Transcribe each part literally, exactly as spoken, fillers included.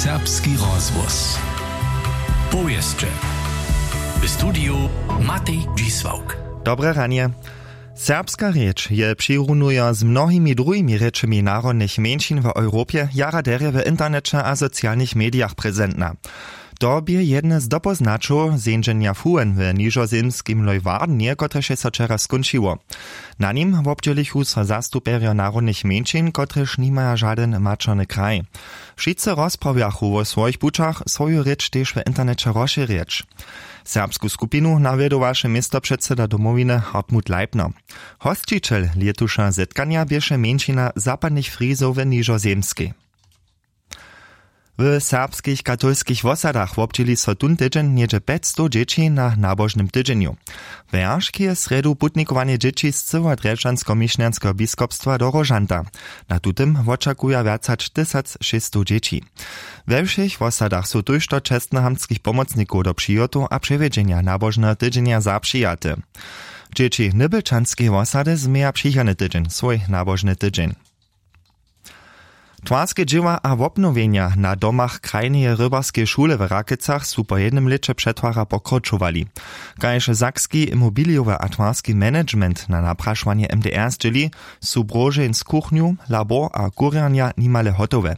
Serbski rozhłos. Powěsće. W studiju Matej Dźisławk. Dobre ranje. Serbska rěč je přirunujo z mnohimi druhimi rěčemi narodnych mjeńšin w europje jara derje w interneće a socialnych medijach prezentna. To bě jedne z dopoznaćow zjeńdźenja fuhen w nižozemskim leuwardenje kotrež je so wčera skónčiło. Na nim wobdźělichu so zastupjerjo narodnych mjeńšin kotrež nimaja žadyn maćerny kraj. Wšitcy rozprawjachu wo swojich pućach swoju rěč tež w interneće rozšěrjeć. Serbsku skupinu nawjedowaše městopředseda domowiny hartmut leibner. Hosćićel lětuša zetkanja běše mjeńšina zapadnych frizow w nižozemskej. W serbskich katolskich wosadach wobdźěli so tón tydźeń něhdźe pjećstow dźěći na nabožnym tydźenju. Wjeršk je srjedu putnikowanje dźěći z cyłeho drježdźanskomišnjanskeho biskopstwa do róžanta. Na tutym wočakuja wjac hač tysac šěsćstow dźěći. We wšěch wosadach su tójšto čestnohamtskich pomocnikow do přihotow a přewjedźenja nabožneho tydźenja zapřijate. Dźěći nybylčanskeje wosady změja přichodny tydźeń swój nabožny tydźeń. Twarske dźěła a wobnowjenja na domach krajneje rybarskeje šule w Rakecach su po jednym lěće přetwara pokročowali. Kaž sakski imobilijowy a twarski management na naprašowanje M D R zdźěli, su brožeń z kuchnju, labor a kurjernja nimale hotowe.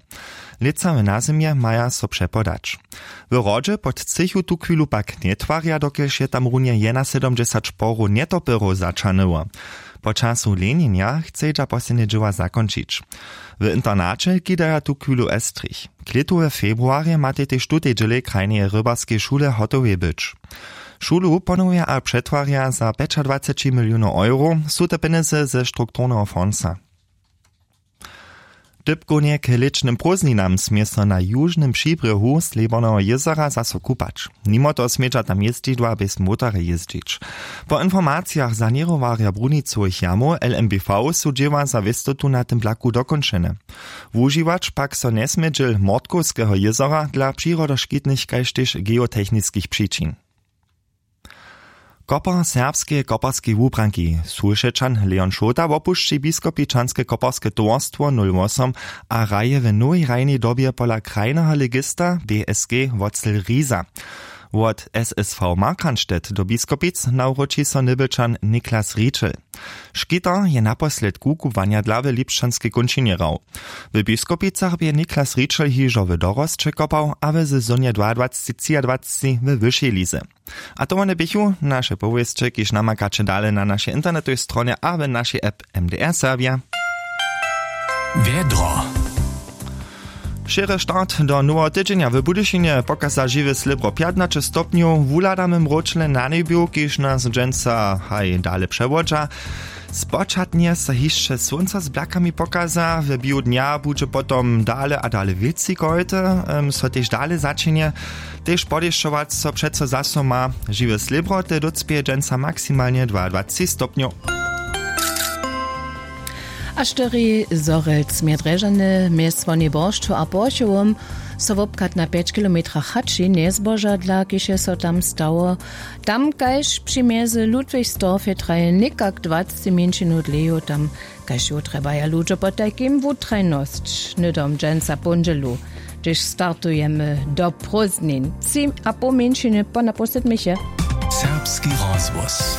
Lětsa w nazymje maja so přepodać. W hrodźe pod třěchu tuchwilu pak njetwarja dokelž je tam runje jenasydomdźesać porow njetopyrow zaćahnyło. Po času lenjenja chcedźa poslednje dźěła zakónčić. W internaće kidaja tuchwilu estrich. Klětu we februarje matej tež tutej dźělej krajneje rybarskeje šule hotowej być. Šulu ponowja a přetwarja za pjećadwaceći milionow euro, su te pjenjezy ze strukturneho fonsa. Dypkownje k lěćnym prózdninam smě so na južnym přibrěhu slěborneho jězora zaso kupać. Nimo toho smědźa tam jězdźidła bjez motorje jězdźić. Po informacijach saněrowarja brunicowych jamow lmbv su dźěła za wěstotu na tym plaku dokónčene. Wužiwać pak so njesmě dźěl mortkowskeho jězora dla přirodoškitnych kaž tež geotechniskich přičin. Kopar serbskeje koparskej wubranki, sulšečan leon šołta wopušći biskopičanske koparske towarstwo nul wosom a hraje w nowej hrajnej dobje pola krajneho legista bsg wotzel riza. Wot ssv markranstedt do biskopic nawróći so nybylčan niklas ričel. Škitar je naposledku kubłanja dla w lipšćanskej kónčinje hrał. W biskopicach bě niklas ričel hižo w dorosće kopał a w sezonje dwaadwaceći třiadwaceći we wyšej lize. A to wone běchu naše powěsće kiž namakaće dale na našej internetowej stronje a w našej app. M D R serbja. Wjedro. Šěry start do noweho tydźenja w budyšinje pokaza žiwe slěbro pjatnaće stopnjow wuhladamy mróčle na njebju kiž nas dźensa haj dale přewodźa. Spočatnje so hišće słónco z blakami pokaza w biju dnja budźe potom dale a dale wětři kojty. So tež dale začinje tež podešćować so přeco zaso ma. Žiwe slěbroty dócpěje dźensa maksimalnje dwaadwaceći stopnjow. A štyri zorelc mje drježany mjez wonej boršću a porchowom so wobchad na pjeć kilometrach hači njezboža dla kiž je so tam stało. Tam kaž při mjezy ludwigsdorf je traje někak dwaceći mjeńšinu dleju tam kaž ju trjebaja ludźo potajkim wutrajnosć hnydom dźensa póndźelu, hdyž startujemy do prózdnin tři a poł mjeńšiny po napoł sydmich je. Serbski rozhłos.